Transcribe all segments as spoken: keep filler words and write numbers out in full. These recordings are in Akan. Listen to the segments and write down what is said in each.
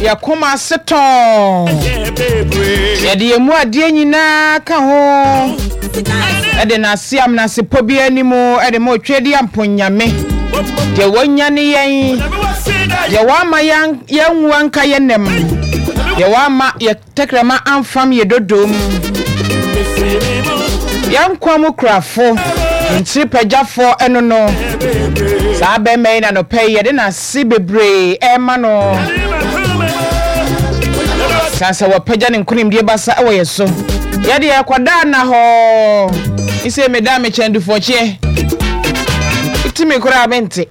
Yɛ koma ase tɔn. Yɛde yɛn mu adeɛ nyinaa ka ho. Ɛde n'ase amenasepɔ bi anim ɛde ma otwa di amponyame. Deɛ wɔanya ne yɛn. Deɛ wɔama yɛn yɛnwu anka yɛn nam. Deɛ wɔama yɛ tɛkrɛma amfam yɛ dodom. Yɛn nkwa mu kurafo. Ntiri pagyafoɔ ɛno no. Saa bɛrima yi na nɔpɛ yi yɛde n'ase bebree ɛrema no. San sɛ wɔpagya ne nkonimdie basa ɛwɔ yɛ so. Yɛde yɛkɔda na hɔ. Nsɛ meda mekyɛn dufɔkyeɛ. Wotumi koraa mente.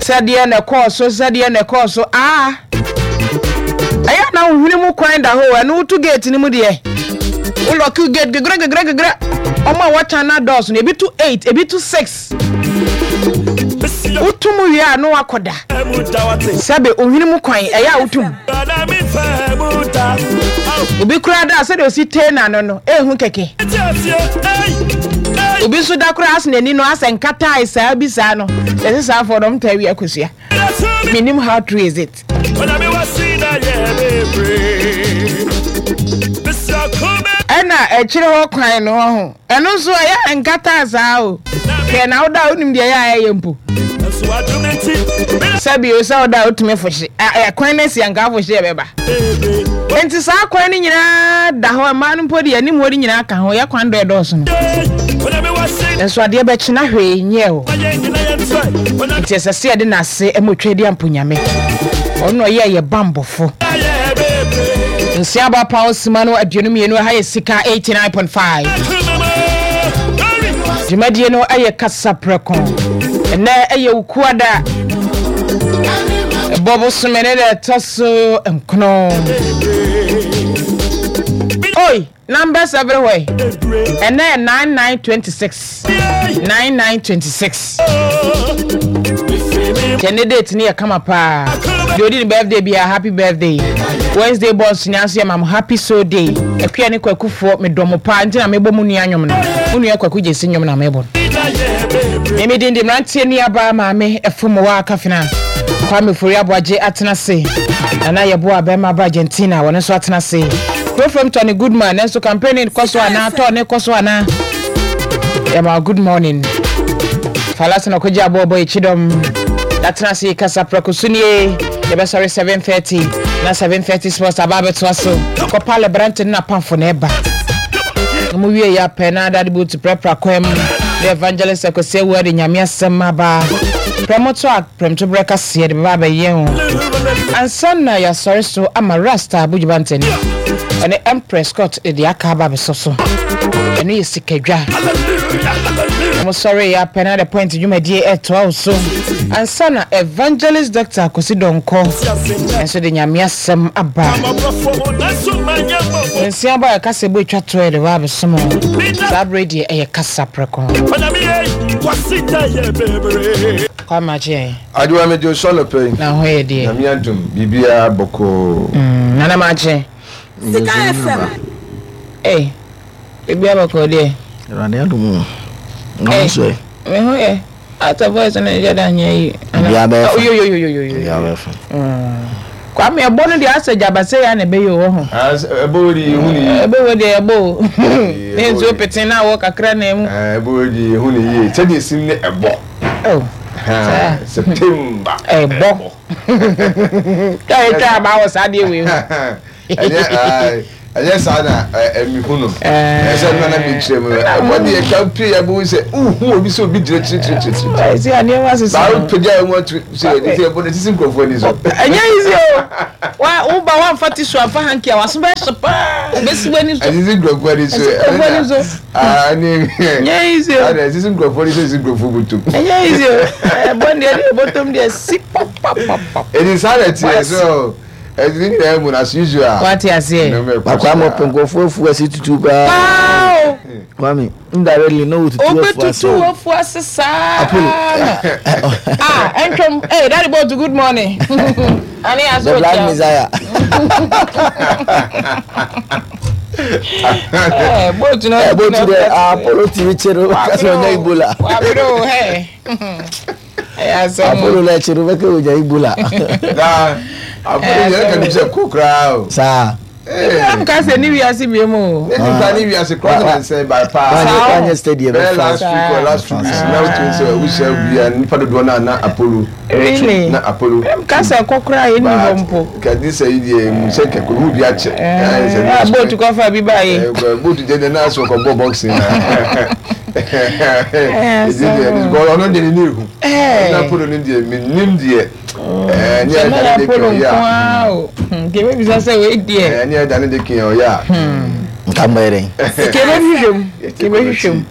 Sɛdeɛ na ɛkɔɔ so sɛdeɛ na ɛkɔɔ so aa. Ɛyɛ na wohwene mu kwan da hɔ ɛno woto gate no mu deɛ. Wo lock gate gegrɛ gegrɛ gegrɛ. Ɔmo a wɔtan na dɔɔso no ebi to eight ebi to six. Woto mu wie a na wakɔda. Sɛbe ohwene mu kwan ɛyɛ a wotum. Obi koraa da a sɛdeɛ osi tee n'ano no ehu kɛkɛ. Obi nso da koraa ase n'ani no asɛ nkatae saa bi saa no. Yɛsɛ saa afɔ no ɔmo taa wi akosua. Minim how true is it. Ɛna akyire hɔ kwan no ho ɛno nso ɛyɛ nkata saa o. Hwɛ na woda a wonim deɛ ɛyɛ a ɛyɛ mpo. Sɛbi o sɛ woda a wotumi fohye. Ɛkwan no asi anka afohye ɛbɛba. Nti saa kwan no nyinaa da hɔ mmaa no mpo deɛ anim hɔ no nyinaa ka ho yɛ kwan dɔ ɛdɔɔso no. Nso adeɛ bɛkye na hwee nyɛ o. Nti ɛsɛ sɛ yɛde n'ase ɛma otwa di amponyame. Ɔno na ɔyɛ yɛ bambɔfo. Nsia aba pa osima no aduonu mmienu ɛha yɛ Sika eighty-nine point five. Dwumadie no ɛyɛ Kasa Prɛko. Ɛnɛ ɛyɛ Wukuada. Ɛbɔ bosome ne deɛ ɛtɔ so nkono. Oi, numbers everywhere. Ɛnɛ yɛ nine nine twenty six. Nine nine twenty six. Kyɛ date ne yɛ kama paa. Deɛ odi ne birthday bia happy birthday. Wednesday born nyinaa nso yɛ mam happy so day. Akua ne kwakufoɔ medɔ mo paa nti na mebɔ mu nua nnwom no. Mu nua Kwaku Gyesi nnwom na mebɔ no. Mimi din de mmeranteɛ nuabaa maame ɛfom wɔ akafena. Kwame Fori Aboagye atena ase. Nana Yɛboa bɛrima ba Argentina wɔn nso atena ase. Kurofam Tony Goodman nanso campaign kɔ so anaa tɔɔ ne kɔ so anaa. Yɛma good morning. Falasa na ɔkɔgye aboɔbɔ ekyidɔm. Yɛatena ase kasa prɛko so nie. Yɛbɛsɔre seven thirty na seven thirty sports aba abɛtoa so. Kɔpa Lebrante ne n'apamfo na ɛba. Na mo wie yɛ apɛ na adade boot prɛprɛ kwan mu. Ne evangelist Akwasi Awua de Nyame asɛm aba. Prɛmoto a prɛmtoberɛ kaseɛ de bɛba abɛyɛ ho. Ansa na yɛasɔre so ama Rasta Abodwoba ntani. Ɛne Empress Scott de aka aba abɛsɔ so. Ɛno yɛ sikadwa. Wɔn sɔre yɛ apɛ na the point dwumadie ɛtoa wo so. Ansa na evangelist Doctor Akwasi Dɔnkɔ nso de Nyame asɛm aba. Nsia ba a ɛkasa bu etwa toɔ yɛde ba abɛsom. Saa bere deɛ ɛyɛ Kasa Prɛko. Kwame akye. Adewa megye sɔ no pɛ. Na ho yɛ deɛ. Nyame adom biribiara bɔkɔɔ. Mm, Nana Makye. Sika F M. Ee, biribiara bɔkɔɔ deɛ. Awurade adom o. Na wo nso ɛ? Me ho yɛ. Ata voice no nhyɛ da nyɛ yi. Biribiara bɛyɛ fa. Yo yo yo yo yo yo. Biribiara bɛyɛ fa. Kwame ɛbɔ no deɛ asɛ gyabasɛ ya na ɛbɛyɛ wɔ ho. Ɛbɔ wo di ehu ne yie. Ɛbɛ wɔ deɛ ɛbɔ o. Ne nsuo pete na awɔ kakra na emu. Ɛbɔ wo di ehu ne yie. Sɛdeɛ sim ne ɛbɔ. Oh. Saa. September. Ɛbɔ. Kaa etwa aba wɔ saa deɛ wei ho. Ɛnyɛ ɛnyɛ saa na ɛmi hu no. Ɛsɛ nana mi kyerɛ mu. Ɛbɔ deɛ ɛka pie yɛ bɔ sɛ uhu obi sɛ obi gyina kyirikyirikyiri. Ɛsi a nneɛma sisa. Baawo pagya ɛmu atu sɛ ɛdi sɛ ɛbɔ ne sisi nkurɔfoɔ ani so. Ɛnyɛ easy o. Wa wo ba wa nfa tissue anfa hanky a waso bɛ hyɛ paa. Bɛsi w'ani so. Ɛsisi nkurɔfoɔ ani so. Ɛsisi nkurɔfoɔ ani so. Aa ne. Ɛnyɛ easy o. Ɛna ɛsisi nkurɔfoɔ ani so ɛsisi nkurɔfoɔ butum. Ɛnyɛ easy o. Ɛbɔ deɛ ɛde bɔtɔm deɛ si papapapa. Ɛdi saa na ɛteɛ so ɛdi ne nyinaa mu na as usual. Wate aseɛ. Akwa ama ɔpɛ nkurɔfoɔ afu ase tutu paa. Paa o. Kwame, indirectly na wotutu afu ase. Obetutu afu ase saa. Apollo. Ah, ɛntwom. Hey, Daddy Botu, good morning. Ani aso The Black otia. Messiah. Eh, Botu na. Eh, Botu de Apollo T V channel kasi ɔnya Ebola. Wabere o, hey. Ɛyɛ asɛm o. Apollo na ɛkyɛ no bɛka ogya Ebola. Na Apollo yɛrɛ ka nim sɛ ko koraa o. Saa. Am ka sɛ ne wiase bie mu o. Ne nipa ne wiase koraa na nsɛn ba paa. Saa. Wanyɛ steady Bɛyɛ ɛbɛfa. last week or last two weeks na wotu sɛ wohyia bia nipa dodoɔ na na Apollo. Really? Na Apollo. Am ka sɛ ɛkɔ koraa yɛ ni hɔ mpo. Kadi sɛ yi deɛ mu sɛ kɛkɛ mu bi akyɛ. Ɛɛ bootu kɔfa bi ba yi. Bootu deɛ deɛ naa so kɔ bɔ boxing na. Ɛdi deɛ ɔno deɛ ne ne ehu. Ɛɛ. Ɔno Apollo ne deɛ mi nim deɛ. Ɛɛ ne Sɛ yɛ mɛna dane de Apollo kɛ nko ɔyɛ a. ara o. Kebe bisa sɛ wei deɛ. Ɛɛ ne yɛ dane de kɛ ɔyɛ a. Nka mbɔ yɛ dɛn. Kebe hwehwɛ mu. Kebe hwehwɛ mu.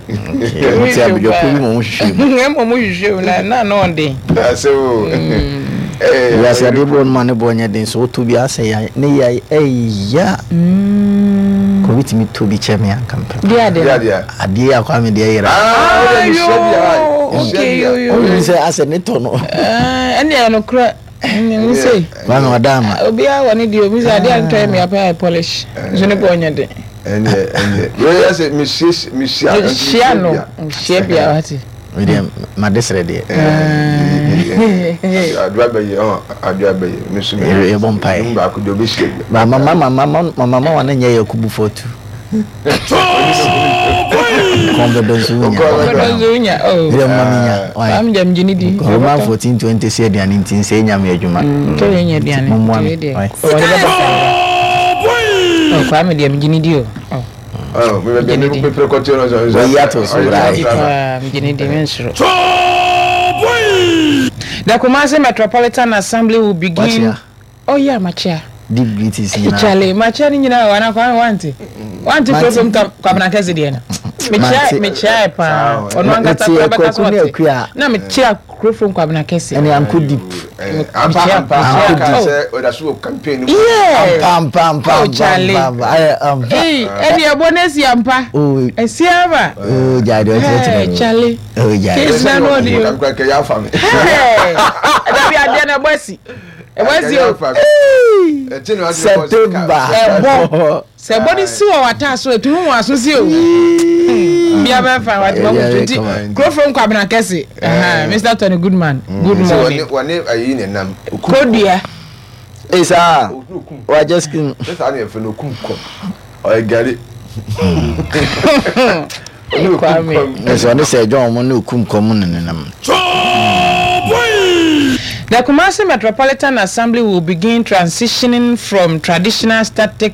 Nti abidwako bi ma ɔmo hwehwɛ mu. Ɛmɔ mo hwehwɛ mu na na na ɔden. Ase o. Wiase adeɛ bi wɔ no ma ne bɔ nyɛ den so woto bi asɛ ya ne ya ɛya. Kò bi tumi to bi kyɛ me anka mpɛ. Di ade. Di adeɛ. Adeɛ akɔ ame deɛ yera. Ah, Ayo. Okay yo yo. Ɔmo sɛ asɛ ne tɔ no. Ɛɛ ɛne ɛyɛ nokorɛ. Ne se. Kwame ɔda ama. Obiara wɔ ne deɛ obi sɛ adeɛ a ntɔ yɛ mi apɛ ayɛ polish. Nso ne bɔ ɔnyɛ den. Ɛnɛ ɛnɛ. Wei yɛ sɛ mehyia mehyia. Hyia no. Hyia bia wate. Wei deɛ made srɛ deɛ. Adoa bɛyɛ ɔ adoa bɛyɛ mesu mi. Yɛ- yɛbɔ mpaeɛ. Mu baako deɛ obehyia bi. Ba mama mama mama mama wa ne nyɛ yɛ kubu fɔtu. Kɔn bɛdɔ nso wunya. Ɔbɛdɔ nso wunya. Oh. Wei deɛ mma mi nya. Why? Am gyam gyini di. Roman fourteen twenty sɛ aduane nti nsɛ nya me adwuma. Tɔ yɛ nya aduane. Mommoa me. Tɔ yɛ deɛ. Why? Ɔde bɛbɔ saa. Oh, Kwame deɛ megyini di o. Oh. Ɔ mi bɛ mi bɛ pere kɔtɛ no sɔ. Wɔyi ato so bra. Di paa megyini di mensoro. The Kumasi Metropolitan Assembly will begin. Wakyea. Oh yeah, Machia. Deep greetings nyinaa. Charlie, Machia ni nyinaa wana Kwame wante. Wante Mante. kurom kam Kwabena kɛse deɛ no. Mekyia Mante. mekyia paa. Ɔno ankasa Mete kora bɛka so Kwaku ne ɔte. Akua. Na mekyia kurom Kwabena kɛse. Ɛne anko deep. Ampa ampa Ampa. aka sɛ ɔda so wɔ campaign. Yes. Ampa ampa Oh, ampa Charlie. ampa ampa. Ayɛ ampa. Hey, ɛne ɛbɔ no asi ampa. Oh, Asi ama. oh, gyae deɛ ɔkyerɛkyerɛ Hey, no. Charlie. Oh, gyae. Case na no ɔde o. Kakra kɛ yɛ afa mi. Hey, ɛdabi adeɛ no ɛbɔ asi. Ɛbɔ asi o. September. Ɛbɔ. Sɛ ɛbɔ no si wɔ w'ataa so etu ho aso si o. Bia bɛfa wate ma Yeah, kutu yeah, nti come on. kurofo Kwabena kɛse. Aha, Mr Tony Goodman. Good morning. Wɔne ayi ne nam. Kodua. Ee saa. Wagye skin. Ne saa ne yɛ fɛ no okum kɔm. Ɔyɛ gari. Kwame. Ɛsɛ ɔne sɛ John mo ne okum kɔm ne nenam. The Kumasi Metropolitan Assembly will begin transitioning from traditional static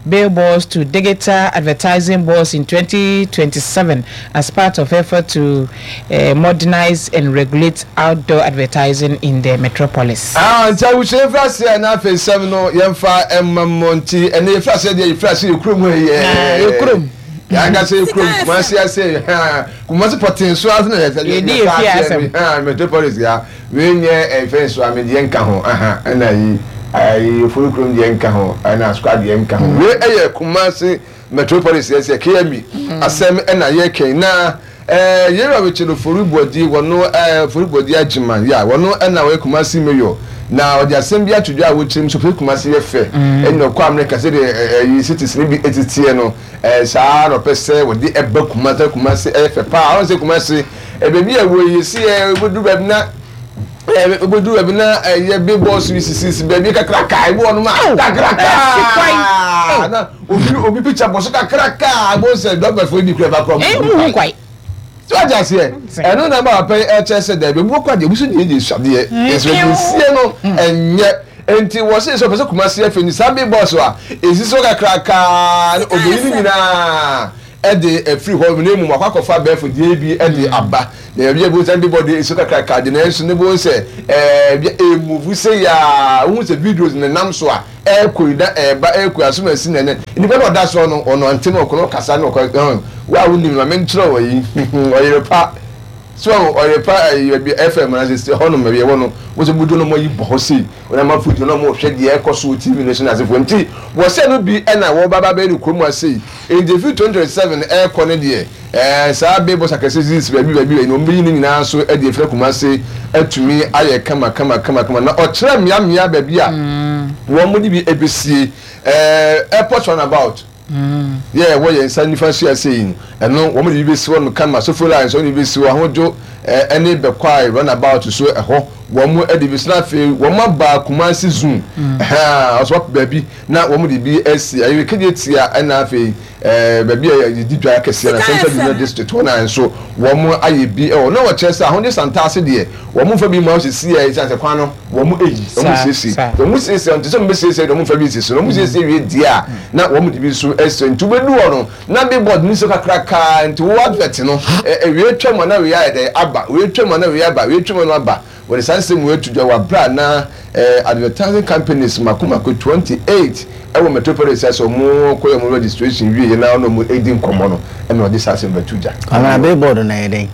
billboards to digital advertising boards in twenty twenty-seven as part of effort to uh, modernize and regulate outdoor advertising in the metropolis. Ah, nti awusua yɛfiri aseɛ na afei nsɛm no yɛmfa ɛma mmɔ nti ɛnɛ yɛfiri aseɛ deɛ yɛfiri aseɛ yɛ kurom ha yi. Ah, yɛ kurom. Yɛankasa yɛ kurom Kumasi ase, Kumasi pɔtee so ase na yɛsɛ Yɛdi yɛ fie asɛm. Ah, metropolis ya wei nyɛ ɛfɛn so ame deɛ nka ho aha ɛna yi ayi ofori kurom deɛ nka ho ɛna squad deɛ nka ho. Wei ɛyɛ Kumasi Metropolis yɛ sɛ K M E asɛm ɛna yɛ kɛn na ɛɛ yɛrɛ Richard Ofori Bɔdi wɔno ɛɛ Ofori Bɔdi Agyeman ya wɔno ɛna wɔyɛ Kumasi mayor na ɔde asɛm bi ato dwa a wɔkyerɛ mu so pɛ Kumasi yɛ fɛ ɛna ɔkɔ Amerika sɛdeɛ ɛyi cities ne bi etitiɛ no ɛɛ saa na ɔpɛ sɛ wɔde ɛba Kumasi. Kumasi ɛyɛ fɛ paa. Ɔn sɛ Kumasi ɛbɛbi a wɔ yi si ɛ ebudu baabi na ɛɛ ebudu baabi na ɛyɛ billboards bi sisi baabi kakraka ebi wɔ nom a kakraka na obi obi picture bɔ so kakraka abo sɛ dɔbɛfo bi kura ba kura. Eh, mu hu kwai. Tí wàá jà seɛ ɛno na ma papa yi ɛkyɛ sɛ dɛbi ebi kɔ adeɛ ebi so deɛ deɛ suadeɛ nso esie no ɛnyɛ nti wɔsi sɛ ɔpɛ sɛ Kumasi ɛfɛ ni saa billboards a esi so kakraka ne obeyi ne nyinaa ɛde ɛfiri hɔ na emu akɔ akɔfa abɛɛfo deɛ bi ɛde aba na ebi ebi sɛ billboard esi so kakraka de na nso ne bo sɛ ɛɛ bi emuvu se yaa ohun sɛ videos ne nam so a ɛɛkɔ yi na ɛɛba ɛɛkɔ yi asom esi nɛnɛ nipa na ɔda so no ɔno ante na ɔkɔ na ɔkasa na ɔkɔ ɛhɔn wa a wonim maame nkyerɛ wɔ yi ɔyere pa so ɔyere pa ɛyi ɛbi F M na sɛ hɔnom ɛbi ɛwɔ no wɔsɛ budu no mo yi bɔ hɔ sei wɔn ama food no mo hwɛ deɛ ɛkɔ so wɔ T V no so na asefo nti wɔsɛ no bi ɛna wɔba ba bɛyɛ ne kurom ase yi nti fi twenty twenty seven ɛɛkɔ ne deɛ ɛɛ saa billboards akɛse sisi baabi baabi baabi na wɔn bɛyi ne nyinaa nso ɛde efirɛ Kumase atumi ayɛ kama kama kama kama na ɔkyerɛ mmeammea baabi a wɔn mo de bi ebesie ɛɛ airport roundabout. Yɛ ɛwɔ yɛn nsa nifa so ase yi, ɛno wɔn de bi bɛsi hɔ no kama. Sofoline nso wɔn de bi bɛsi hɔ. Ahodwo ɛne Bɛkwae runabout so ɛhɔ wɔn de bi si. Na afei wɔn aba Kumasi Zoom ɛhɛn ɔsɔ wapɛ baabi na wɔn de bi asi ɛyɛ Kejetia. Ɛna afei ɛɛ baabi a yɛdi dwa kɛseɛ na Central Business District hɔ na nso wɔn ayɛ bi ɛwɔ. Na wɔkyerɛ sɛ Ahodwo Santaase deɛ, wɔn mfa bi mu a wɔsisi yɛ ɛsiane sɛ kwan no wɔn eyi wɔn siesie wɔn siesie nti sɛ wɔn bɛ siesie wɔn mfa bi sisi wɔn siesie wie deɛ a, na wɔn de bi nso esi. Nti wobɛdu hɔ no na billboard ni so kakraka, nti wo advert no ɛ ewie twam a na wie ayɛ dɛ aba, wie twam a na wie aba, wie twam a na aba. Wɔde saa nsɛm wɔ etu dwa wɔ abira na ɛɛ advertising companies mako mako twenty eight ɛwɔ metropolis sɛ ɔmo kɔyɛ ɔmo registration wie yɛ na ɔmo edi nkɔmɔ no, ɛna ɔde saa nsɛm bɛtu dwa. Kwamina, billboard na yɛ dɛn?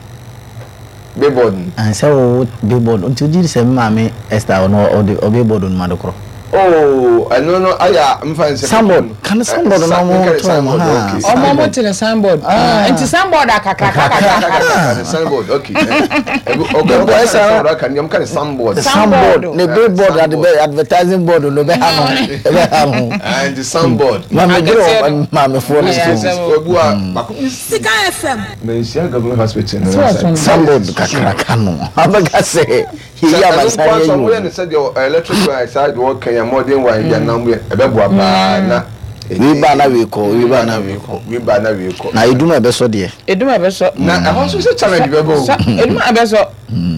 Billboard no. Ansɛ wo billboard nti o gyi sɛ maame Esther ɔno ɔde ɔ billboard no ma de korɔ. Oh, ɛno no ayɛ nfa nsɛ. Signboard kan, signboard na ɔmo to ɔmo ha. Ɔmo ɔmo te ne signboard, nti signboard akakaka. Kakra signboard, okay, okay okay, signboard aka ni ɔmo ka ne signboard. Signboard ne billboard, advertising board no bɛ ha no, ɛbɛ ha no. Nti signboard. Maame dwere wɔ maame foɔ no so. Obu a baako bi. Sika F M. Manhyia Government Hospital no. Signboard kakraka no abɛka sɛ yiyi abasa yɛ yi o. Wɔyɛ ne sɛdeɛ electric wire saa de wɔka yɛn modern wire bi anam yɛ, ɛbɛboa paa na. Wei ba na wei kɔ, wei ba na wei kɔ. Wei ba na wei kɔ. Na edum a ɛbɛsɔ deɛ. Edum a ɛbɛsɔ. Na ɛhɔ nso sɛ challenge bɛbɔ o. Edum a ɛbɛsɔ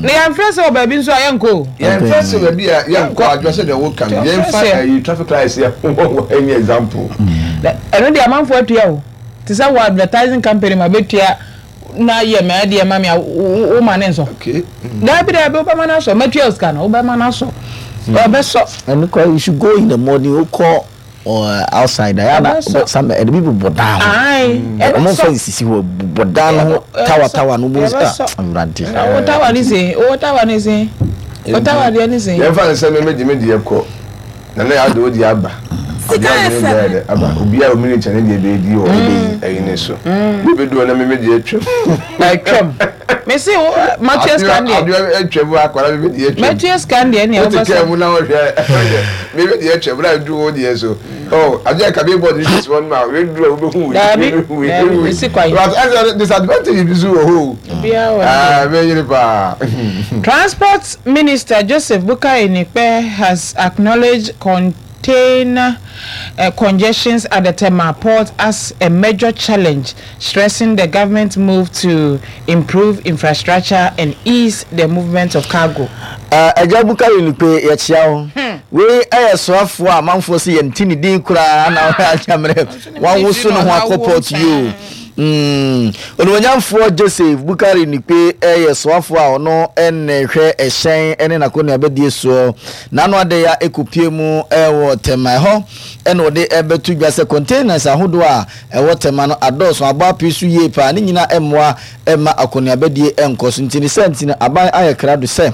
na yɛn fɛ sɛ wɔ baabi nso a yɛn kɔ o. Yɛn fɛ sɛ baabi a yɛn kɔ adwa sɛ deɛ wɔka no, yɛn fa ɛyi traffic lights yɛ wɔ ɛnyɛ example. Ɛno deɛ amanfoɔ atua o, te sɛ wɔ advertising company ma bɛtua na yɛ mɛ deɛ ma mi a, wo ma ne nsɔ. Daabi daabi, wobɛma no asɔ, mɛtua sika no, wobɛma no asɔ, ɔbɛsɔ. Ɛno kɔ, you should go in the morning, wokɔ uh, outside ayɛ na some ɛde bi bobɔ dan ho, ɔmo nfa nsisi hɔ, bobɔ dan ho tawa tawa no bo ah, Awurade. Wo tawa ne se, wo tawa ne se, wo tawa deɛ ne se. Yɛn fa ne sɛ mɛmɛ di mi deɛ kɔ na ne yɛ adi o di aba Sika F M aba, obiara omi ne nkyɛn ne deɛ bɛyɛ di wɔ ɛyi ne so bi du hɔ na mɛmɛ deɛ atwam. Atwam, mesi wo matua sika deɛ. Adeɛ atwam, akwara mɛmɛ deɛ atwam. Matua sika deɛ nea. Wote kaa mu na wɔhwɛ mɛmɛ deɛ atwam na adu wo deɛ so ɔ adeɛ ka billboard bi si hɔ no ma weduru a wobɛhu wei. Daabi daabi, mesi kwan. But ɛsɛ disadvantage bi so wɔ hɔ o. Obiara wɔ. Aa, bɛyere paa. Transport Minister Joseph Bukari Nikpe has acknowledged container uh, congestions at the Tema port as a major challenge, stressing the government move to improve infrastructure and ease the movement of cargo. Ɛgya Bukari Nikpe, yɛkyia wo. Wei ɛyɛ soafoɔ a amanfoɔ sɛ yɛnti ne din koraa na wɔyɛ akyammerɛ wawoso ne ho akɔ port yi o. Onimonyamfoɔ Joseph Bukari Nikpe ɛyɛ soafoɔ a ɔno ɛna hwɛ ɛhyɛn ɛne n'akɔnua soɔ n'ano ade ya ekopie mu ɛwɔ Tema ɛhɔ, ɛna ɔde ɛbɛto dwa sɛ containers ahodoɔ a ɛwɔ Tema no adɔɔso abɔ apee so yie paa, ne nyinaa ɛmmoa ɛma akɔnuabɛdie ɛnkɔ so. Nti ne sɛ nti no aban ayɛ krado sɛ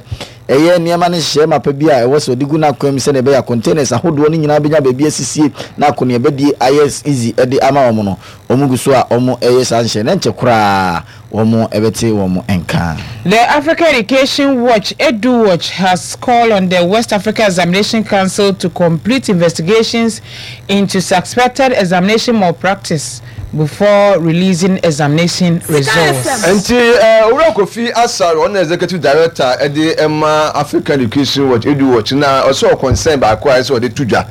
ɛyɛ nneɛma no nhyehyɛ mapa bi a ɛwɔ sɛ ɔde gu n'akwan mu sɛdeɛ ɛbɛyɛ containers ahodoɔ no nyinaa bɛnya baabi asisie na akɔnuabɛdie ayɛ easy ɛde ama wɔn no. Wɔn gu so a wɔn ɛyɛ saa nhyɛ ne nkyɛ koraa wɔn ɛbɛte wɔn nka. The Africa Education Watch, Edu Watch, has called on the West Africa Examination Council to complete investigations into suspected examination malpractice before releasing examination results. Nti Owura Kofi Asare, ɔno executive director ɛde ɛma African Education Watch, Edu Watch, na ɔsɛ ɔconcern baako a ɛsɛ ɔde to dwa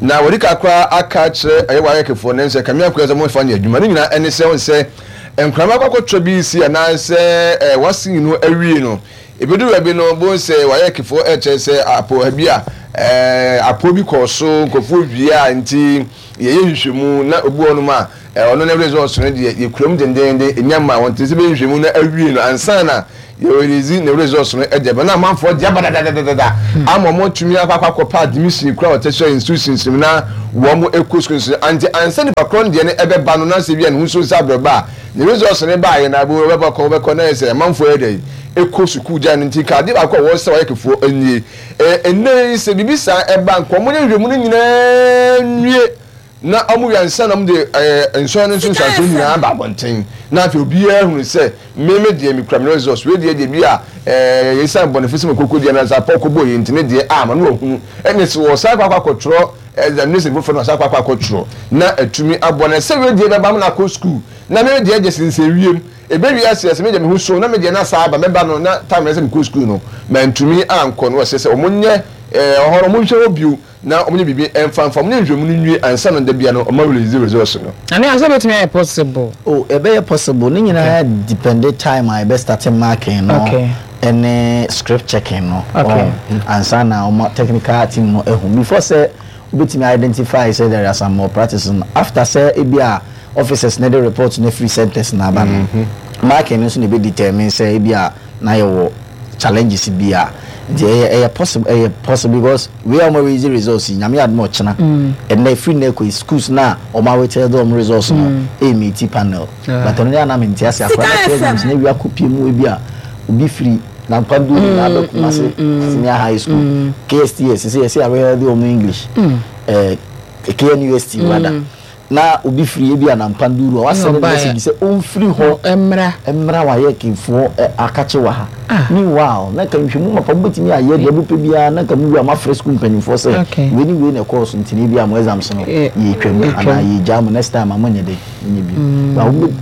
na wɔde kakra aka kyerɛ ɛyɛ WAEC foɔ ne nsɛ kamea kura sɛ wɔmfa nyɛ adwuma ne nyinaa. Ɛne sɛ wɔn sɛ nkrama akɔkɔtɔ bi si anaasɛ ɛɛ wasi no awie no, ebedu baabi no bo sɛ WAEC foɔ ɛkyerɛ sɛ apo bi a ɛɛ apo bi kɔɔ so nkurɔfoɔ wie a, nti yɛyɛ nhwehwɛmu na obi wɔ nom a ɔno ne results no deɛ yɛkura mu dendenden enya ma wɔn te sɛ bɛyɛ nhwehwɛmu na awie no ansa na yɛrelease ne results no. Ɛdeɛ bɛ na amanfoɔ deɛ aba dadadadada ama wɔn atumi akɔ akɔ akɔpa admission kura wɔ tertiary institutions mu na wɔn ekɔ school nso ante ansa nipa korɔ no deɛ no ɛbɛba no na sɛ bi a ne ho nso nsa abɛba a ne results no ba yɛ na abo wɔbɛkɔ wɔbɛkɔ na yɛ sɛ amanfoɔ yɛ dɛ ekɔ sukuu gya no. Nti kaade baako a wɔsɛ wɔyɛ kefoɔ nie ɛɛ ɛnɛ yi sɛ biribi saa ɛba nkɔmɔ ne nhwehwɛmu no nyinaa nwie na ɔmo wia nsa na ɔmo de ɛɛ nsɔn no nso nsuanso nyinaa ba abɔnten na afei obiara hunu sɛ mmemme deɛ mikura mi results wei deɛ deɛ bi a ɛɛ yɛsan bɔ ne fisi mu koko deɛ na nsa apɔ koko yɛ nti ne deɛ ama no wahunu. Ɛna sɛ wɔsan akɔ akɔ akɔtwerɛ Examination foforɔ no ɔsan akɔ akɔ akɔtwerɛ na atumi aboa no sɛ wei deɛ bɛba mo na akɔ school na me deɛ gye sensɛn wiem ebewie ase ɛsɛ me deɛ me ho so na me deɛ na saa aba mɛba no na time na sɛ mekɔ school no mantumi ankɔ no. Wɔsɛ sɛ ɔmo nyɛ ɛɛ ɔhɔ no, ɔmo nhwɛ hɔ bio na ɔmo nyɛ biribi ɛmfa mfa ɔmo nyɛ nhwɛmu no nwie ansa na da bia no ɔmo release results no. Ane asɛ bɛtumi ayɛ possible? Oh, ɛbɛyɛ possible. Ne nyinaa depend time a ɛbɛ start marking no Okay. ɛne script checking no. Okay. Oh, ansa na ɔmo technical team no ehu before sɛ wobɛtumi identify sɛ there are some more practices no, after sɛ ebi a officers ne de report ne free centers na aba no, marking no nso na ebe determine sɛ ebi a na yɛwɔ challenges bi a. Nti ɛyɛ ɛyɛ possible, ɛyɛ possible because wei a ɔmo release results yi, Nyame adum, ɔkyena ɛnna efiri na ekɔ schools na ɔmo awetɛ de ɔmo results no ɛyɛ meeti panel. Ah. But ɔno de anam nti ase akora na exams na ewi akɔ mu, ebi a obi firi Nankwandu na abɛ Kumase Senior High School, K S T S sɛ yɛsɛ awɛyɛ de ɔmo English, ɛɛ K N U S T rather, na obi firi ebi a Nankwandu a wasɛn ne ɔbaeɛ. Message sɛ ɔmfiri hɔ ɛmmra. Mmra wayɛ kefoɔ ɛ akakye wɔ ha. Ah. Meanwhile, na nka nhwɛmu mapa mobɛtumi ayɛ deɛ mopɛ biara na nka muwie a moafrɛ sukuu mpanimfoɔ sɛ Okay. wei ne wei na ɛkɔɔ so, nti ne bi a mo exams no Eh, yɛtwam yɛtwam. anaa yɛgyaa mo, next time a monyɛ den monyɛ bio. Ba wobɛ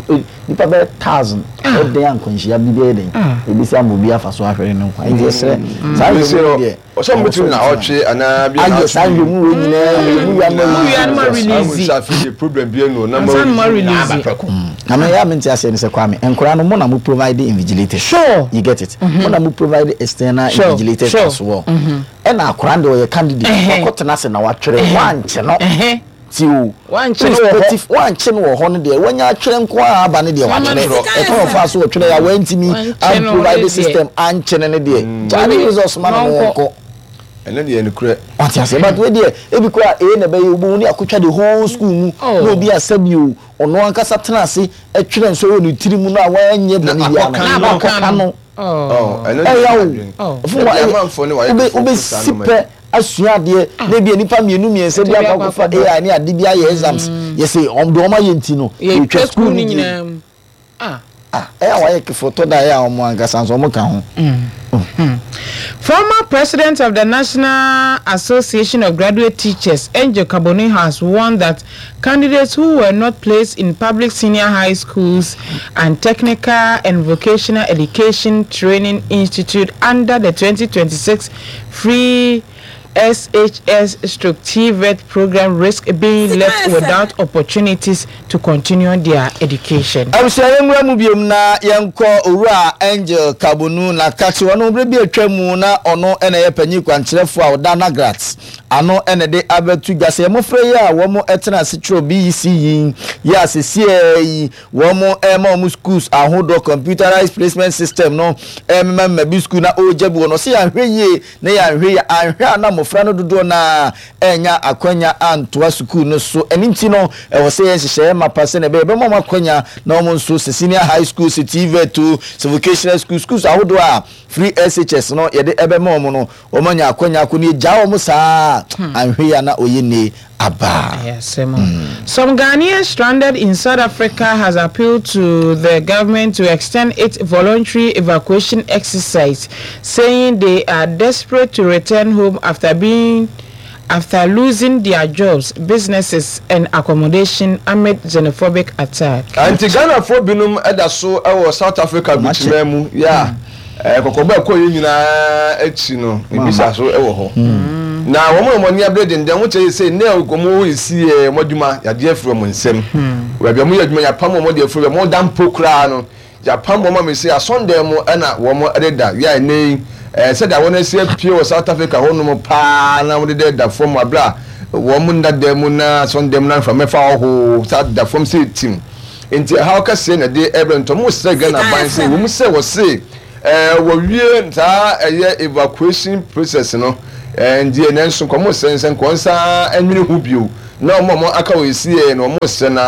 eh, nipa bɛyɛ thousand ɛdɛn ankwanhyia bi bɛyɛ den Ah. ebisi ama obi afa so ahwere ne nkwa. Nti yɛsrɛ saa Ɛsɛ nhwɛmu deɛ ɔsɛ ɔmo bɛtumi na ɔtwe anaa bi. Ayɛ saa nhwɛmu wei nyinaa nhwɛmu wei ama. Wei ama release. Release afei problem bi enu na Ansa na ma release. Na me ya mente aseɛ ne sɛ, Kwame, nkora no, mo na mo provide invigilators. Sure. You get it? Mo na mo provide external Sure, invigilators sure. as well. Ɛna akora no deɛ, ɔyɛ candidate. Ɛhɛ. Wakɔtena ase na watwerɛ, wankye no. Ɛhɛ. Ti o. Wankye no wɔ hɔ. Irrespective, wankye no wɔ hɔ no deɛ, wanya atwerɛ nko a aba no deɛ, watwerɛ. Ɛkwan ɔfa so wɔtwerɛ a wantumi Wankye no amprovide deɛ. system ankye no no deɛ, gyaa ne results ma no no wɔnkɔ. Ɛno deɛ nokorɛ. Wate ase? But wei deɛ, ebi kora ee na ɛbɛyɛ obi ne akotwa the whole school mu Oh. na obi asɛbi o, ɔno ankasa tena ase ɛtwerɛ nso wɔ ne tiri mu no a wanyɛ bɔne Na biara akɔka no no. na akɔka no. Oh. Ɛno ɛyà deɛ o. Oh. Fún wa. Ebi amanfoɔ ne wayɛ Wobe kofo wobɛsi saa nneɛma pɛ asua adeɛ na ebi nipa mmienu mmiɛnsa bi Ɛte bi akɔ akɔ akɔfa akɔba. A I ne ade bi ayɛ exams, yɛsɛ ɔmo de ɔmo ayɛ nti no yɛtwa yɛtwa school no no nyinaa mu. Ah. Ah, ɛyà wayɛ kefo tɔ da, ɛyà ɔmo ankasa nso ɔmo ka ho. Former president of the National Association of Graduate Teachers, Angel Carboni, has warned that candidates who were not placed in public senior high schools and technical and vocational education training institute under the twenty twenty-six free S H S stroke T V E T program risk being left without opportunities to continue their education. Abusua, yɛn nwura mu biom na yɛnkɔ. Owura Angel Kabonu na kakye ɔno bere bi atwa mu na ɔno ɛna ɛyɛ panyin kwankyerɛfoɔ a ɔda NAGRAT ano ɛna de abɛto dwa sɛ mmɔfra yi a wɔn ɛtena ase twerɛ B E C yi yɛ asesie yi, wɔn ɛma wɔn schools ahodoɔ computerized placement system no ɛmema mma bi school na ɔregya bi wɔ no, ɔsɛ yɛanhwɛ yie na yɛanhwɛ yie anhwɛ a na mmɔfra no dodoɔ na ɛnya akwanya antoa sukuu no so. Ɛne nti no, ɛwɔ sɛ yɛn nhyehyɛeɛ mapa sɛ na ɛbɛyɛ ɛbɛma wɔn akwanya na wɔn nso sɛ senior high school, sɛ T V E T o, sɛ vocational school, schools ahodoɔ a free S H S no yɛde ɛbɛma wɔn no, wɔn anya akwanya akɔ ne egya wɔn saa anhwɛ yie a na oyɛ ne aba. Yes, Simon. Some Ghanaians stranded in South Africa has appealed to the government to extend its voluntary evacuation exercise, saying they are desperate to return home after being after losing their jobs, businesses, and accommodation amid xenophobic attack. Nti Ghanafoɔ binom ɛda so ɛwɔ South Africa bikyima mu yɛ a ɛɛ kɔkɔbɔ ɛkɔ yɛ nyinaa akyi no, ebisa so ɛwɔ hɔ na wɔn a wɔn ani abere denden wɔn kyerɛ sɛ ne a wɔn esi yɛ wɔn adwuma yadeɛ afiri wɔn nsam, baabi a wɔn yɛ adwuma yapam wɔn de afiri wɔn da mpo koraa no, yapam wɔn a mesi asɔndan mu ɛna wɔn ɛdeda yɛ a ɛnɛ yi ɛɛ sɛdeɛ wɔn asi apue wɔ South Africa hɔnom paa na wɔn deda da fam abere a wɔn nda dan mu na asɔndan mu na nframa fa ɔhoo saa da fam sɛ tim. Nti ɛhaw kɛseɛ na ɛde ɛbrɛ ntɔm srɛ Ghana ban sɛ wɔn sɛ wɔse ɛɛ wɔwie saa ɛyɛ evacuation process no ɛɛ ndeɛ nanso nkɔmɔ sɛ nsɛ nkɔnsa ɛnwene ho bio na wɔn a wɔn aka wɔ esi yɛ na wɔn srɛ na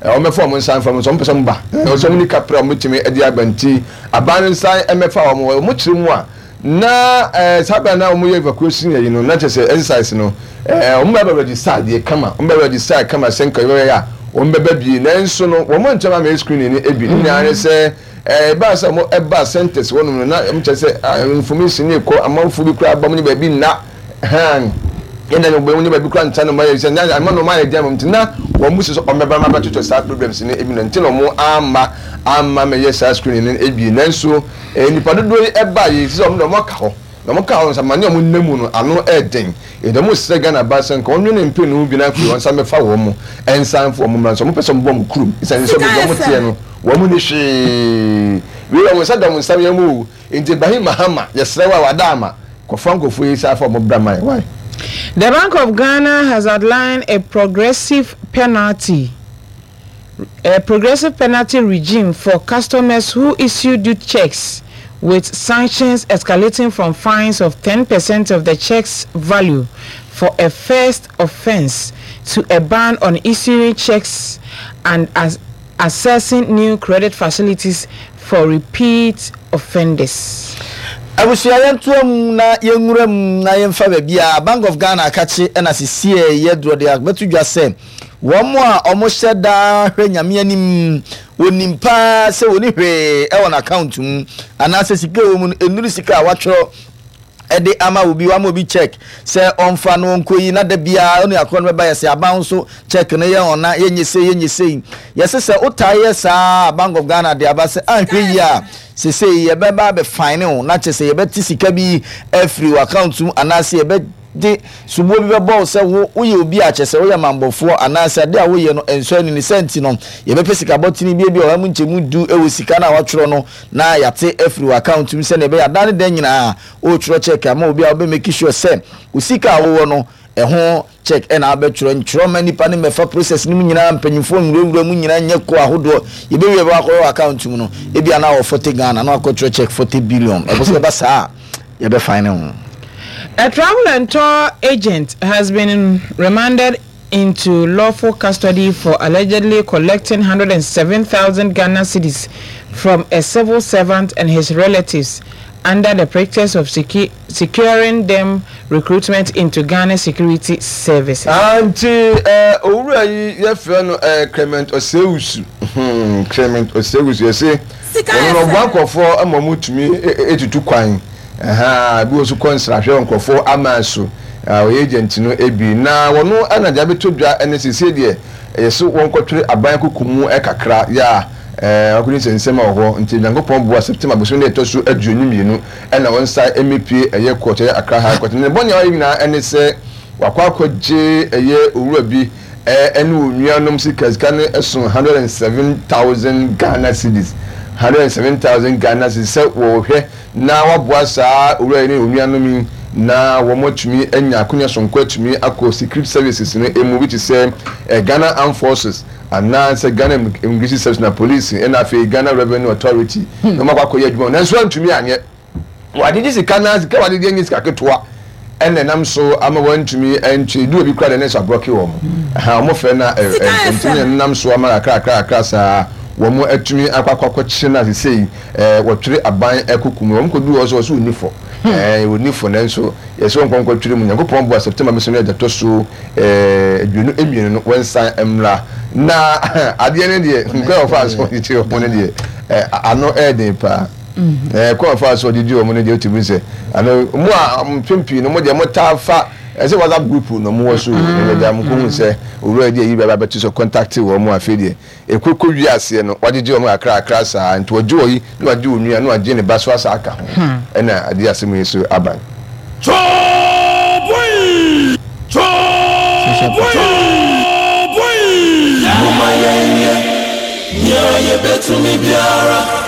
ɛɛ wɔn mɛfa wɔn nsa nfa wɔn nso wɔn pɛ sɛ wɔn ba ɛɛ wɔn ni kapra wɔn tumi ɛde aba, nti aban no nsa ɛmɛfa wɔn. Wɔn kyerɛ mu a na ɛɛ saa bɛn na wɔn yɛ evacuation yɛ yi no na kyerɛ sɛ exercise no ɛɛ wɔn bɛ bɛ register adeɛ kama, wɔn bɛ register kama sɛ nka yɛ a wɔn bɛba bie, nanso no wɔn nkyɛn ama screening no ebi ne nyinaa ne sɛ ɛɛ ɛbaa sɛ wɔn ɛba centers wɔn no na wɔn kyerɛ sɛ ah, information ne kɔ amanfo bi koraa ba mu ne baabi nna hɛn. Yɛn na wɔn nyɛ baabi kura nta no ma yɛ sɛ nyɛ ama no ma yɛ dɛm nti na wɔn mu sɛ ɔmɛba ma bɛtotɔ saa problems ne ebi na nti na wɔn ama ama mɛyɛ saa screening no ebi. Nanso eh, nipa dodoɔ yi ɛba yi sɛ wɔn de wɔn aka hɔ na wɔn ka hɔ nsa ma ne wɔn nam mu no ano ɛɛden. Yɛde wɔn srɛ Ghana ba sɛ nka wɔn nwene mpɛ no bi na afei wɔn nsa mɛfa wɔn mo ɛnsan fo wɔn mmra nso wɔn pɛ sɛ wɔn bɔ wɔn kurom ɛsɛn sɛ wɔn wɔn teɛ no wɔn mu ni hwee wei wɔn nsa da wɔn nsa yɛn mu o. Nti Ibrahim Mahama, yɛsrɛ wa wada ama kɔfa nkɔfoɔ yi sa afa wɔn bra man why. The Bank of Ghana has outlined a progressive penalty, a progressive penalty regime for customers who issue due checks, with sanctions escalating from fines of ten percent of the check's value for a first offense to a ban on issuing checks and as accessing new credit facilities for repeat offenders. Abusua, yɛntoa mu na yɛnwura mu na yɛmfa baabi a Bank of Ghana akakye ɛna sesie yɛ dorɔ de abɛto dwa sɛ wɔn a wɔhyɛ daa hwɛ Nyame anim, wɔnim paa sɛ wɔni hwee ɛwɔ n'account mu anaasɛ sika ɛwɔ mu no ɛnuru sika a watwerɛ ɛde ama obi, wama obi check sɛ ɔmfa no ɔnkɔ yi na da biara ɔne akorɔ no bɛba yɛ sɛ aban nso check no yɛ ɔna yɛnyɛ sei, yɛnyɛ sei. Yɛsɛ sɛ wotaa yɛ saa, Bank of Ghana de aba sɛ anhwɛ yi a sesei yɛbɛba abɛfine wo na kyerɛ sɛ yɛbɛte sika bi afiri wɔ account mu anaasɛ yɛbɛde soboɔ bi bɛbɔ wo sɛ wo woyɛ obi a kyerɛ sɛ woyɛ mambɔfoɔ anaasɛ ade a woyɛ no ɛnsɔ ani ne sɛ nti no yɛbɛpɛ sika bɔtene bi bi a ɔha mu nkyɛmu du ɛwɔ sika no a watwerɛ no na yɛate afiri wɔ account mu sɛnea ɛbɛyɛ adan ne dan nyinaa wotwerɛ check ama obi a wobɛ make sure sɛ wo sika a wowɔ no ɛho check ɛna abɛtwerɛ ntwerɛ ma nipa ne mɛfa process no mu nyinaa, mpanyinfoɔ nwurawura mu nyinaa nyɛ kɔ ahodoɔ yɛbɛwie bɛ wakɔyɛ wɔ account mu no ebi ana wɔ forty Ghana na wakɔtwerɛ check forty billion. Ɛbɔ sɛ yɛba saa a yɛbɛfine ne ho. A travel and tour agent has been remanded into lawful custody for allegedly collecting one hundred seven thousand Ghana cedis from a civil servant and his relatives under the pretext of secu- securing them recruitment into Ghana Security Services. Nti ɛ owura yi yɛfrɛ no ɛ Clement Osewusu hmm, Clement Osewusu, yɛsɛ ɔno na ɔboa nkurɔfoɔ ama ɔmo tumi etutu kwan ɛhan bi wɔ so kɔ nsrahwɛ wɔ nkurɔfoɔ ama so. Ɔyɛ agent no ebi na wɔn ɛna deɛ abɛtɔ dwa ɛne siesie deɛ ɛyɛ so wɔn kɔtwere aban koko mu ɛkakra yɛ a ɛɛ wakɔdi nsɛnsɛm a wɔ hɔ. Nti Nyankopɔn boa, September bosom ne ɛtɔ so aduonu mmienu ɛna wɔn nsa ɛmɛpie ɛyɛ court, ɛyɛ Accra High Court. Ne bɔnea ɔyɛ nyinaa ɛne sɛ wakɔ akɔgye ɛyɛ owura bi ɛɛ ɛne onuanom sika. Sika no ɛso hundred and seven thousand Ghana cedis, hundred and seven thousand Ghana cedis, sɛ wɔhwɛ na waboa saa owura yi ne onuanom yi na wɔn atumi anya akonnwa sonko atumi akɔ secret services no emu bi te sɛ ɛ Ghana Armed Forces anaasɛ Ghana Immigration Service na police ɛna afei Ghana Revenue Authority na wɔn akɔ akɔyɛ adwuma. Nanso antumi anyɛ wagyegye sika na sika wagyegye nye sika ketewa ɛna ɛnam so ama wɔntumi ntwe du obi kura de ne nso aborɔke wɔn ɛha wɔn fɛ na ɛ ɛ ntumi ɛnam so ama kakra kakra kakra saa wɔn atumi akɔ akɔ akɔkyerɛ na sesei ɛɛ wɔtwere aban ɛkoko mu. Wɔn kɔ du hɔ so wɔso oni fɔ ɛɛ oni fɔ, nanso yɛsɛ wɔn nkɔnkɔ twere mu. Nyankopɔn boa, September bi so no ɛda tɔ so ɛɛ aduonu mmienu no wɔn nsan mmra. Na adeɛ no deɛ, nkɔ wɔfa so wɔde wɔn no deɛ, ɛɛ ano ɛɛden paa. Ɛɛ kɔ wɔfa so wɔde di wɔn no deɛ, otumi sɛ ano mu a mpɛn pii no mo deɛ mo taa fa ɛsɛ WhatsApp group na mo wɔ so ɛna gya mo kò hu sɛ owura yi deɛ yi bɛ abɛto so contact wɔn mu. Afei deɛ ekoko wi aseɛ no wagyegye wɔn kakra kakra saa nti wɔgye wɔ yi na wagye wɔn nua na wagye ne ba so asa aka ho ɛna adeɛ asɛm yi so aban. Boy! Boy! Mama yɛnyɛ nea yɛbɛtumi biara.